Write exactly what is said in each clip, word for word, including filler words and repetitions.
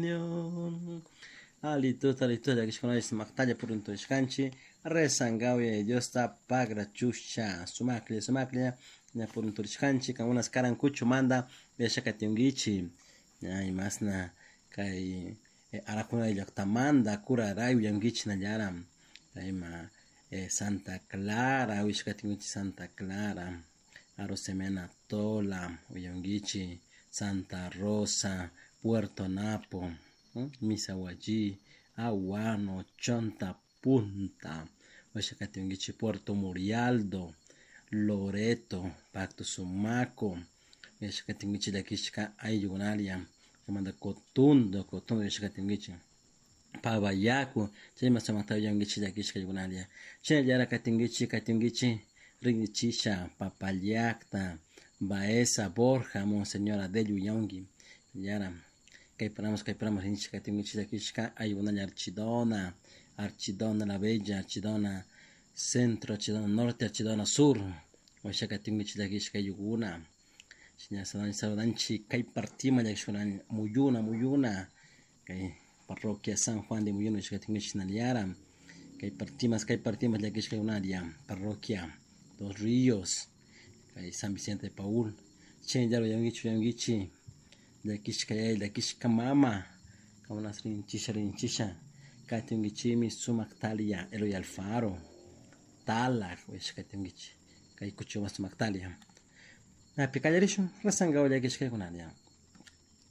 Señor. Alituta, alituta, llakishkunalla sumaktalla purunturishkanchik rezankawi Diosta pagrachusha sumaklla sumaklla ña purunturishkanchik kankunas karan kuchumanta yachakatinkichik ña imasna kay Arakuna llaktamanta Curaray uyankichik nallara ima Santa Clara uyashkatinkichik Santa Clara Arosemena Tola uyankichik Santa Rosa Puerto Napo Misahuallí Aguano Chonta Punta uyashkatinkichik Puerto Murialdo Loreto Pacto Sumaco uyashkatinkichik llakishka ayllukunalla chaymanta Cotundo Cotundo uyashkatinkichik Pavayaku chayma sumakta uyankichik llakishka ayllukunalla shinallara katinkichik katinkichik rinrichisha Papallacta Baeza Borja Monseñor Adelio uyanki yara kayparamos kayparamos rinchik katinkichik llakishka ayllukunalla Archidona Archidona la Bella Archidona Centro Archidona Norte Archidona Sur uyashkatinkichik llakishka ayllukuna shina saludanchik kay partima llakishkuna Muyuna Muyuna kay parroquia San Juan de Muyuna uyashkatinkichik shinallara kay partimas kay partimas llakishkakunalla parroquia Dos Ríos kay San Vicente de Paul chaylla uyankichik uyankichik llakishka yaya llakishka mama kankunas rinchisha rinchisha katinkichikmi sumak Talia Eloy Alfaro Talak uyashkatinkichik kay kuchuman sumak Talia Napi kallarishun rezankawa llakishkakunalla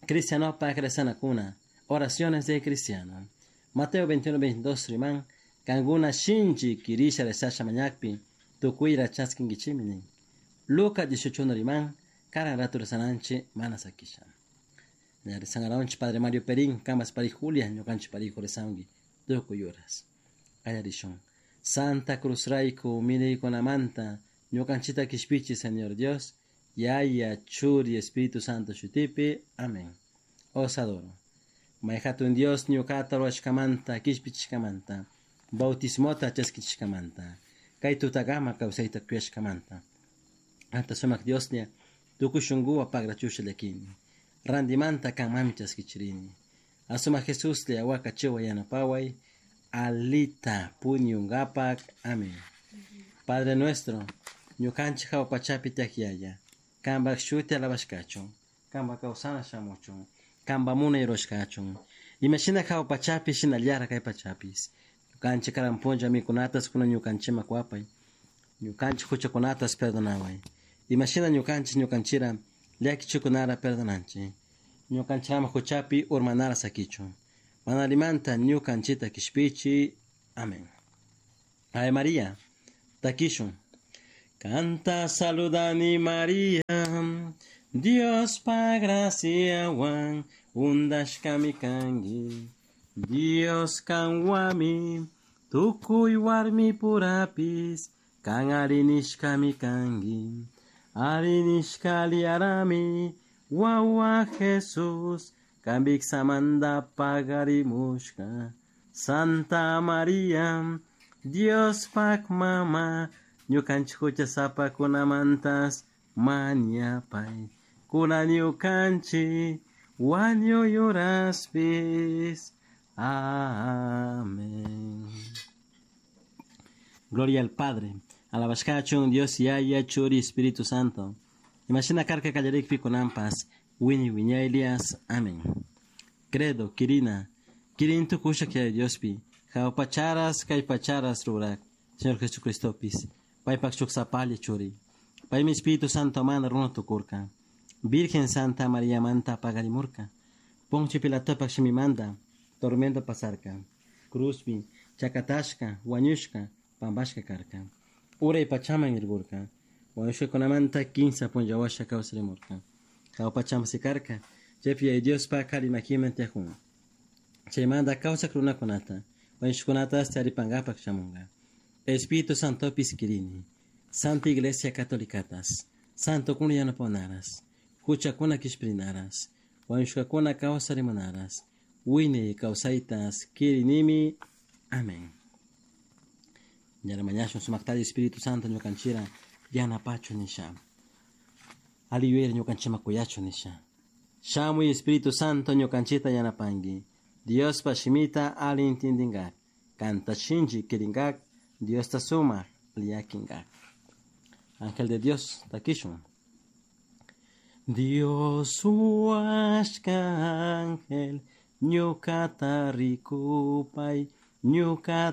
Cristianopak rezanakuna oraciones de cristiano Mateo veintiuno veintidós riman kankuna shinchi kirisha rezasha mañakpi tukuyra chaskinkichikmi nin Lucas dieciocho uno riman karan rato rezananchik mana sakisha ña rezankaranchik Padre Mario Perín kanpas pari Julia ñukanchik parijo rezanki tukuy horas kallarishun Santa Cruz rayku miraykunamanta ñukanchikta kishpichi Señor Dios Yaya Churi Espíritu Santo shutipi amén Os adoro May hatun Dios ñukata rurashkamanta kishpichishkamanta bautismota chaskichishkamanta kay tutakama kawsayta kuyashkamanta anta sumak Dioslla tukuy shunkuwan pagrachusha llakini rantimanta kanmanmi chaskichirini asumak Jesuslla wakachiway yanapaway alita puñunkapak amén Padre nuestro ñukanchik hawa pachapi tiyak Yaya kanpak shuti alabashkachun kanpak kawsana shamuchun kanpak munay rurashkachun imashina hawa pachapi shinallara kay pachapis ñukanchik karan punlla mikunatas kunan ñukanchikman kuwapay ñukanchik huchakunatas perdonaway imashina ñukanchik ñukanchira llakichikunara perdonanchik ñukanchik ama huchapi urmanara sakichun mana allimanta ñukanchikta kishpichi amén Ave María takishun Kanta saludani María Diospa graciawan undashkami kanki Dios kanwami tukuy warmi purapis kan arinishkami kanki arinishka liarami wawa Jesús kanpiksamanta pagarimushka Santa María Diospak mama ñukanchik huchasapakunamantas mañapay kunan ñukanchik wañuy horaspis amén Gloria al Padre, alabashkachun Dios Yaya Churi Espíritu Santo. Imashina karka kallarikpi kunanpas wiñay wiñaylias. Amén. Credo, Kirina, Kirin tukusha Yaya Diospi, hawa pacharas kay pacharas rurak, Señor Jesucristopis, paypak shuk sapalla churi. Paymi Espíritu Santo mana runa tukurka. Virgen Santa María manta pagarimurka. Poncio Pilatopak shimimanta, tormento pasarka. Cruzpi, chakatashka, wañushka, pampashka karka. Uray pachaman irgurka. Wañushkakunamanta kinsa punlla washa kawsarimurka. Hawa pachaman sikarka. Chaypi Yaya Diospa kari makiman tiyakun. Chaymanta kawsak runakunata, wañushkakunatas taripankapak shamunka. Espíritu Santopis kirini. Santa Iglesia Catolicatas, Santo kuna yanapawanaras, huchakuna kishpirinaras, wañushkakuna kawsarimunaras, wiñay kawsaytas kirinimi. Amén. Ñara mañashun sumaktalla Espíritu Santo ñukanchira yanapachu nisha. Ali yuyayra ñukanchikman kuyachu nisha. Shamuy Espíritu Santo ñukanchikta yanapanki. Diospa shimita ali intindingak. Kanta shinchi kiringak. Diosta sumak liyakinkak. Ángel de Dios, takishun. Dios huashka ángel, ñukata rikupay, ñukata